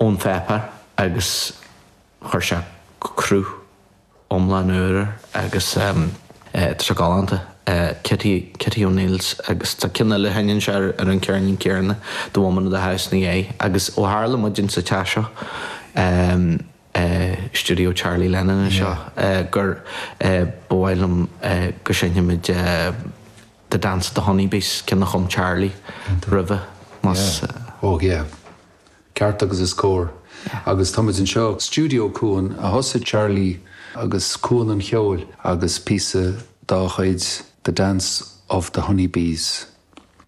Ón pháipéar agus chuir sé cruth iomlán úr air agus tá sé galánta. Kitty, Kitty O'Neill's agus tá ceann eile a sheinneann sé ar an ceirnín céanna, The Woman of the House ina dhiaidh. Agus ó tharla muid insa teach seo, stiúideo Charlie Lennon anseo, gur ba mhaith liom go seinnfimid The Dance of the Honeybees, ceann a chum Charlie roimhe, más. Oh yeah. Ceart agus is cóir. Agus táimid anseo, Stiúideo Cuan, a thosaigh Charlie agus Cuan an Cheoil agus píosa dá chuid, The Dance of the Honeybees.